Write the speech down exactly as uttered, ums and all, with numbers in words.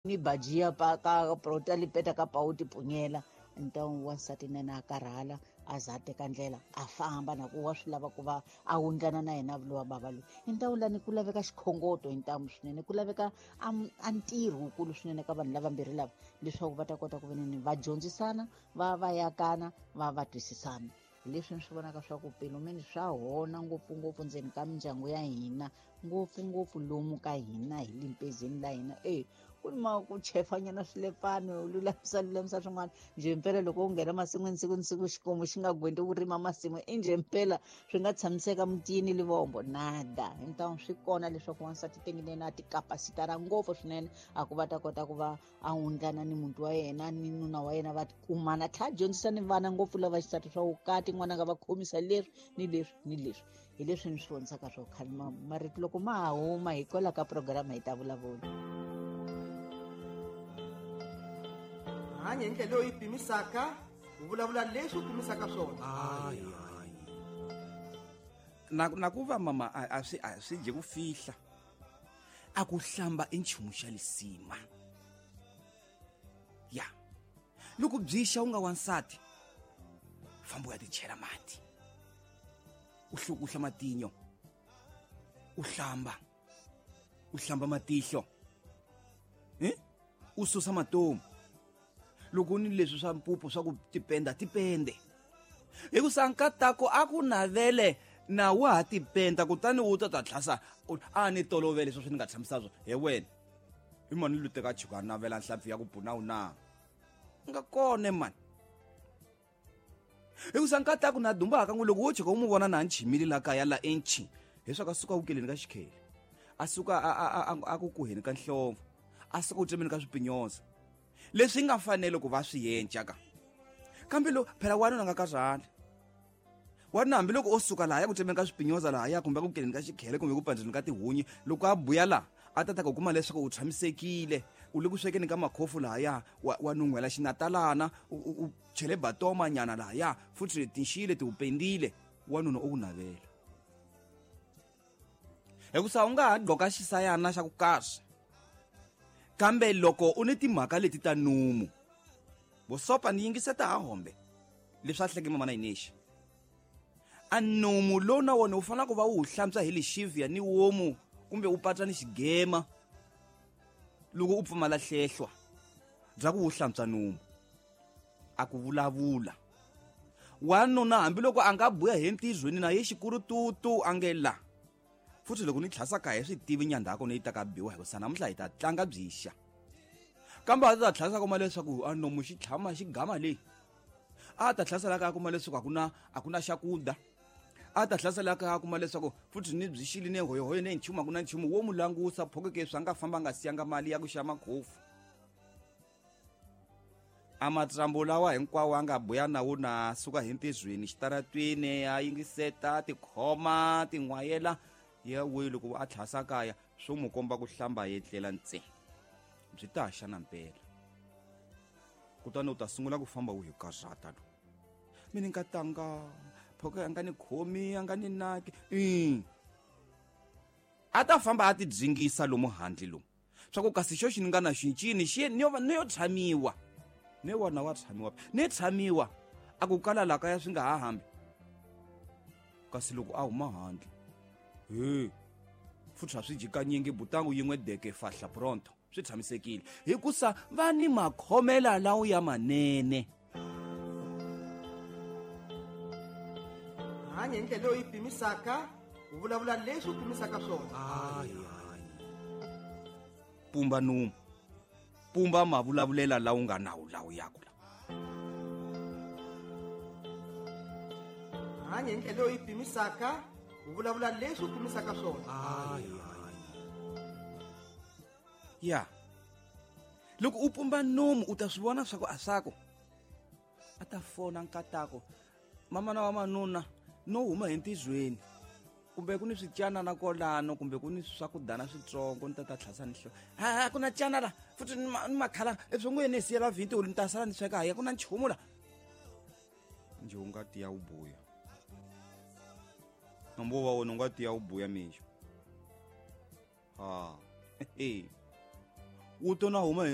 ni bajia pa ka prota lipeta ka pauti punyela ntawu wansati na na karhala a za teka ndlela a famba na ku wa swi lava ku va a wundlana na yena lowa bava loyi i ntawu lani ku laveka xikhongoto hi ntamu swinene ku laveka a ntirho wukulu swinene ka vanhu lavambirhi lava leswaku va ta kota ku veneni va dyondzisana va va yakana va va twisisana. Leswi ni swi vonaka swa ku pelumeni swa hona ngopfungopfu ndzeni ka mindyangu ya hina ngopfungopfu lomu ka hina hi limpezeni la hina e ku ni ma ku chefanyana swilepfano lulamisa lulamisa swin'wana njhe mpela loko u nghena masin'wini siku ni siku xikomu xi nga gwendi ku rima masimu i njhe mpela swi nga tshamiseka mutini livombo nada. Hintawu swi kona leswaku wansati tengileni a tikapasitara ngopfu swinene a ku va ta kota ku va a wundlana ni muti wa yena ni nuna wa yena va kumana tlhela dyondzisa ni vana ngopfu lava xisati swa vukati n'wana nga va khomisa leswi ni leswi ni leswi hi leswi ni swi vonisaka swo khale marito loko ma ha huma hi kwala ka programa hi ta vulavula. Hanya hi ndlela leyi pimisaka u vulavula leswi u pimisaka swona. Na na ku va mama a swi a swi dye ku fihla a ku hlamba i nchumu xa lisima ya loko byi xa u nga wansati famba u ya tichela mati u hlukuhla matinyo u hlamba u hlamba matihlo eh u susa matomu loko ni leswi swa mpupu swa ku tipenda tipende hikusa nkatako a ku navele na wa ha tipenda kutani u ta ta tlhasa a ni tolovele sweswi ni nga tshamisa swo he wena i mani lu teka chuka navela nhlampfi ya ku puna u na nga kone mani hikusa nkatako na dumba ka n'wi loko wo chuka u mu vona na nchimile la kaya la enchi leswaku a suka wukeleni ka xikhele a suka a a a ku kuheni ka nhlomvu a suka u tsemeni ka swipinyoza leswi nga fanele ku va swi yenca ka kambe lo phela wanuna nga karhali wanuna hambiloko o suka laha ya ku tsemeni ka swipinyoza lahaya kumbe ku keleni ka xikhele kumbe ku pandzeni ka tihunyi loko a buya laha a ta ta ku kuma leswaku u tshamisekile u le ku swekeni ka makhofu lahaya wa, wa nun'hwela xinatalana u, u chele batoma nyana lahaya futhi tinxile ti u pendile wanuna o ku navela hikusa u nga ha gqoka xisayana xa ku kahle kambe loko u ni timhaka leti ta numu vosopa ni yingiseta ha hombe leswi a hleke mamana yinexe a numu lowu na wona u fanele ku va u wu hlantswa hi lexivia ni womu kumbe u patsa ni xigema loko u pfumala hlehlwa bya ku wu hlantswa numu a ku vulavula wanuna hambiloko a nga buya hi ntizweni na ye xikurututu a nge la futhi loko ni tlhasa ka hi swi tivi nyandhako ni yi ta ka biwa hikusa namuntlha hi ta tlanga byixa kambe a ta tlhasa kuma leswaku a nomu xi tlhama xi gama leyi a ta tlhasela ka kuma leswaku a ku na a ku na xakuda a ta tlhasela ka kuma leswaku futhi ni byi xili ni hoyohoyo ni nchumu a ku na nchumu wo mu langusa phokeke swi nga famba nga siyanga mali ya ku xa makhofu a matsambo lawa hinkwawo a nga buya na wona suka hi ntizweni xitaratwini a yingiseta tikhoma tin'wayela ya we loko a tlhasa kaya swo mu komba ku hlamba yetlela ntse byi ta xa na mpela kutani u ta sungula ku famba u hi karhata lo mina nkatanga phoka a nga ni khomi a nga ni naki i a ta famba a ti dzingisa lomu handle lomu swa ku kasi xo xi ni nga na xincini xi ni yo ni yo tshamiwa ne wona wa tshamiwa ne tshamiwa a ku kala la kaya swi nga ha hambi kasi loko a huma handle he futhi a swi jikanyingi butangu yin'we deke fahla pronto swi tshamisekile hikusa va ni makhomela lawo ya manene. Hanya hi ndlela leyi pimisaka u vulavula leswi u pimisaka swona. Pumba numu pumba mavulavulela lawo nga nawu lawo yaku la. Hanya hi ndlela leyi pimisaka u vulavula leswi u pimisaka swona. Ya loko u pumba nomu u ta swi vona swa ku a swaku a ta fona nkatako mamana wa manuna no huma hi ntizweni kumbe ku ni swityana kolano kumbe ku ni swakudana switsongo ni ta ta tlhasa ni hlo ha ku na tyana la futhi ni makhala eswongweni ni siyela vhinti ni ta sala ni sweka haya ku na nchumu la nje u nga tiya u buya nombo wa wona u nga tiya u buya mixo ha wu to na huma hi